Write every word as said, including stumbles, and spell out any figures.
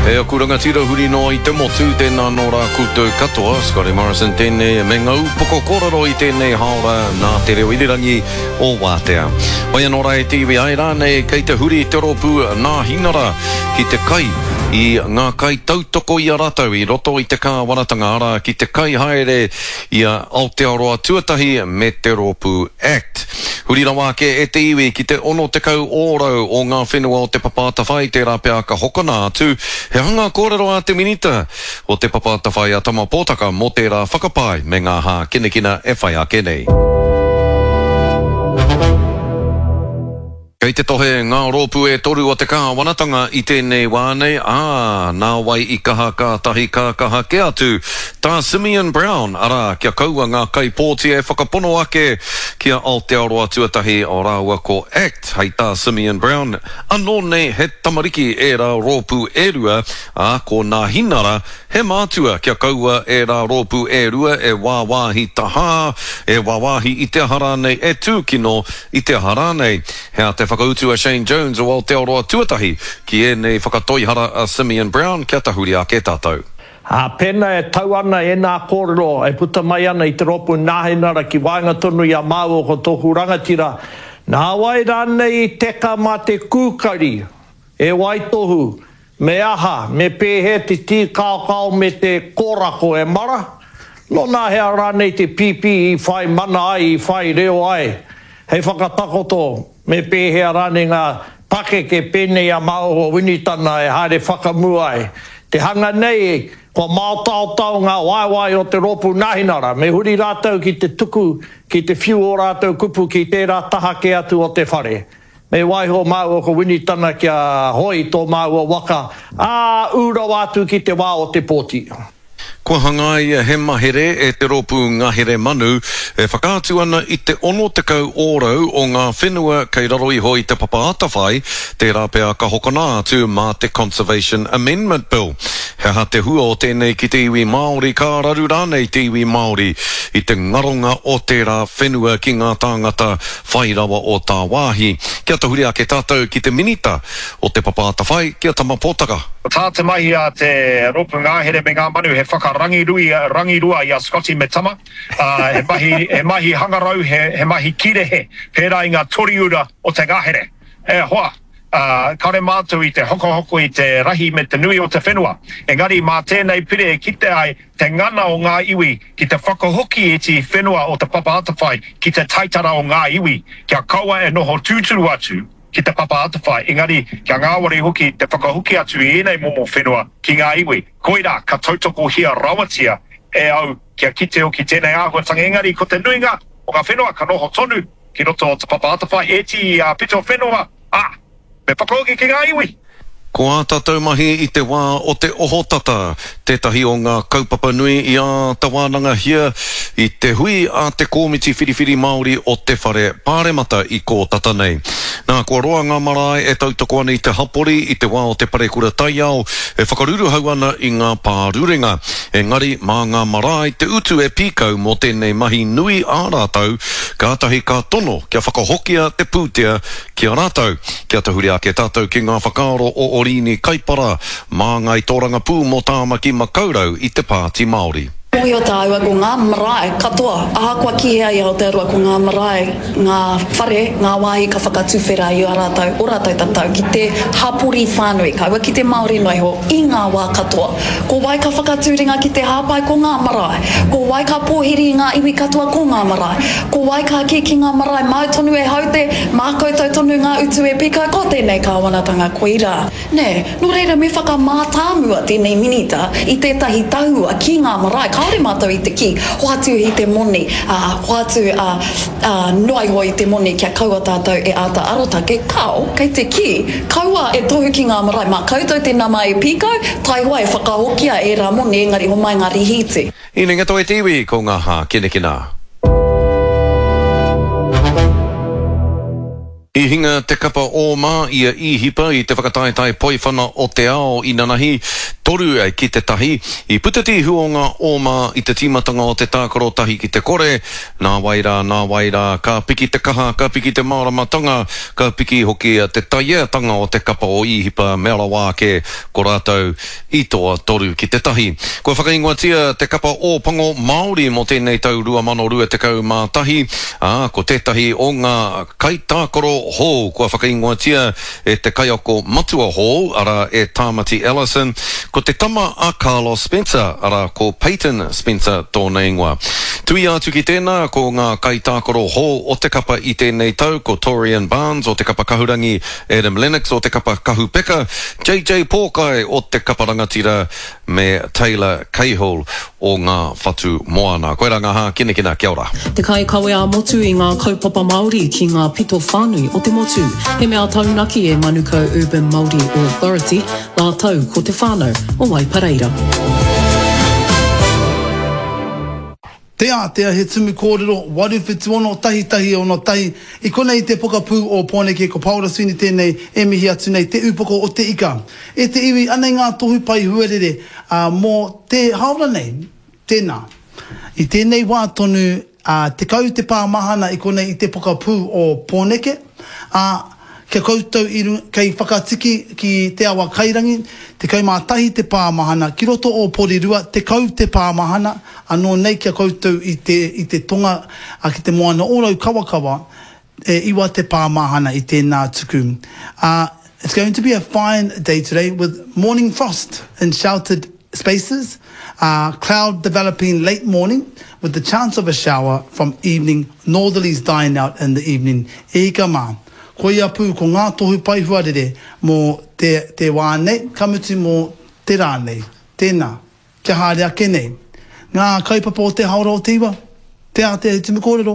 E aku rangatira huri noa i te motu, tēnā nō rā koutou katoa, Scotty Morrison tēnei me ngā upoko kōrero i tēnei haora nā te reo irirangi o Wātea. Wai anō rā e te iwi ai rānei kei te huri te rōpū Nāhinara ki te kai i ngā kai tautoko i a rātou i roto i te kāwanatanga arā ki te kai haere i a Aotearoa Tuatahi me te rōpū ACT. Huri rawa ake e te iwi ki te ono tekau ōrau o ngā whenua o Te Papa Atawhai tērā pea ka hokona atu. He aha ngā kōrero a te Minita o Te Papa Atawhai a Tama Potaka mō tērā whakapae me ngā hākinakina e whai ake nei. Kei te tohe ngā rōpū e toru o te kāwanatanga i tēnei wā nei, ā, nā wai i kaha kātahi ka kaha kē atu tā Simeon Brown, arā, kia kaua ngā kaipōti e whakapono ake ki a Aotearoa Tuatahi rāua ko act, hei tā Simeon Brown, anō nei he tamariki ērā rōpū e rua, ā, ko Nāhinara he mātua kia kaua ērā rōpū e rua e wāwāhi tahā, e wāwāhi i te aha rānei, e tūkino i te aha rānei. He aha te whakautu a Shane Jones o Aotearoa Tuatahi ki ēnei whakatoihara a Simeon Brown kia tahuri ake tātou? Ā, pēnā e tau ana ēnā kōrero e puta mai ana i te rōpū Nāhinara ki waenga tonu i a māua ko tōku rangatira, nā wai rānei i teka mā te kūkari e waitohu Me aha, me pēhea te tīkaokao me te kōrako e mara? Nōnahea rānei te pīpī i whai mana ai, i whai reo ai? Hei whakatakoto, me pēhea rānei ngā pakeke pēnei a Maoho Winitana e haere whakamua ai? Te hanga nei, kua māotaotao ngā waewae o te Rōpū Nāhinara, me huri rātou ki te tuku, ki te whiu ō rātou kupu ki tērā taha kē atu o te whare. Me waiho māua ko Winitana kia hoe i tō māua waka, ā, ū rawa atu ki te wā o te pōti. Kua hangaia he mahere e te Rōpū Ngahere Manu e whakaatu ana i te ono tekau ōrau o ngā whenua kei raro iho i Te Papa Atawhai, tērā pea ka hokona atu mā te Conservation Amendment Bill. He aha te hua o tēnei ki te iwi Māori, ka raru rānei te iwi Māori i te ngaronga o tērā whenua ki ngā tāngata whai rawa o tāwāhi. Kia tahuri ake tātou ki te Minita o Te Papa Atawhai, ki a Tama Potaka. Ko tā te mahi a te Rōpū Ngahere me Ngā Manu he whakarangirui, rangirua i a Scotty me Tama, ā, he mahi, he mahi hangarau, he, he mahi kirehe, pērā i ngā toriura o te ngahere. E hoa, ā, kāore mātou i te hokohoko i te rahi me te nui o te whenua, engari mā tēnei pire e kite ai te ngana o ngā iwi ki te whakahoki ētehi whenua o Te Papa Atawhai ki te taitara o ngā iwi, kia kaua e noho tūturu atu ki Te Papa Atawhai, engari kia ngāwari hoki te whakahoki atu i ēnei momo whenua ki ngā iwi. Koirā ka tautokohia rawatia e au kia kite hoki tēnei āhuatanga, engari ko te nuinga o ngā whenua ka noho tonu ki roto o Te Papa Atawhai, ētehi pito whenua, ā, me whakahoki ki ngā iwi. Ko ā tātou mahi i te wā o te ohotata tētahi o ngā kaupapa nui i āta wānangahia i te hui a te Kōmiti Whiriwhiri Māori o te Whare Pāremata i kō tata nei. Nā, kua roa ngā marae e tautoko ana i te hapori i te wā o te parekura taiao e whakaruruhau ana i ngā pārurenga. Engari, mā ngā marae te utu e pīkau mō tēnei mahi nui ā rātou, kātahi ka tono kia whakahokia te pūtea ki a rātou. Kia tahuri ake tātou ki ngā whakaaro o Oriini Kaipara, māngai tōrangapū mō Tāmaki Makaurau i te Pāti Māori. Mōhio tāua ko ngā marae katoa, ahakoa ki hea i Aotearoa ko ngā marae, ngā whare, ngā wāhi ka whakatuwhera i a rātou, o rātou tatau ki te hapori whānui, kaua ki te Māori noa iho, i ngā wā katoa. Ko wai ka whakatū ringa ki te hāpai? Ko ngā marae. Ko wai ka pōhiri i ngā iwi katoa? Ko ngā marae. Ko wai ka kī ki ngā marae, māu tonu e haute, mā koutou tonu ngā utu e pika, ko tēnei kāwanatanga koirā. Nē, nō reira me whakamātāmua tēnei minita i tētahi tahua ki ngā marae, kāore mātou i te kī, hoatu i te moni, ā, hoatu, ā, ā, noa iho i te moni kia kaua tātou e āta arotake, kāo, kei te kī, kaua e tohu ki ngā marae, mā koutou te nama e pīkau, taihoa e whakahokia ērā moni engari homai ngā rihīti. Inenga toi te iwi, ko ngā hākinakina. I hinga te kapa Ōma i a Īhipa i te whakataetae poiwhana o te ao inanahi, Toru ki te tahi. I puta te ihu o ngā oma i te tīmatanga o te tākaro tahi ki te kore. Nā wai rā, nā wai rā, ka piki te kaha, ka piki te māramatanga, ka piki hoki te taieatanga o te kapa o Īhipa mea rawa ake ko rātou i toa toru ki te tahi. Kua whakaingoatia te kapa Ōpango Māori mō tēnei tau rua mano rua tekau mā tahi, ā, ko tētahi o ngā kaitākaro hou kua whakaingoatia e te kaiako matua hou, arā, e Tāmati Ellison, ko te tama a Carlos Spencer, arā, ko Peyton Spencer tōna ingoa. Tuia atu ki tēnā, ko ngā kaitākaro hou o te kapa i tēnei tau, ko Torian Barnes o te kapa Kahurangi, Adam Lennox o te kapa Kahupeka, J J Pōkai o te kapa Rangatira me Taylor Cahill o ngā Whatu Moana. Koirā ngā hākinakina, kia ora. Te kaikawe ā-motu i ngā kaupapa Māori ki ngā pito whānui o te motu. He mea taunaki e Manukau Urban Māori Authority rātou ko te whānau o Waipareira. Te Ātea, he tumu kōrero, waru whitu ono, tahi tahi ono tahi, i konei te pokapū o Pōneke, ko Paora Sweeney tēnei e mihi atu nei, te upoko o te ika. E te iwi, anei ngā tohu pai huarere, ā, mō te haora nei, tēnā. I tēnei wā tonu, ā, tekau te pā mahana i konei i te pokapū o Pōneke, ā, kia koutou i runga, kei whakatiki ki te awa kairangi, tekau mā tahi te pā mahana, ki roto o Porirua, tekau te pā mahana, anō nei kia koutou i te, i te tonga, ā, ki te moana o Raukawakawa, e iwa te pā mahana i tēnā tuku. Ā, it's going to be a fine day today with morning frost in sheltered spaces, uh, cloud developing late morning with the chance of a shower from evening, northerlies dying out in the evening. E ika mā, koia pū ko ngā tohu pai huarere mō te, te wā nei, ka mutu mō te rā nei. Tēnā, kia haere ake nei. Ngā kaupapa o te haora o te iwa, te ātea he tumu kōrero.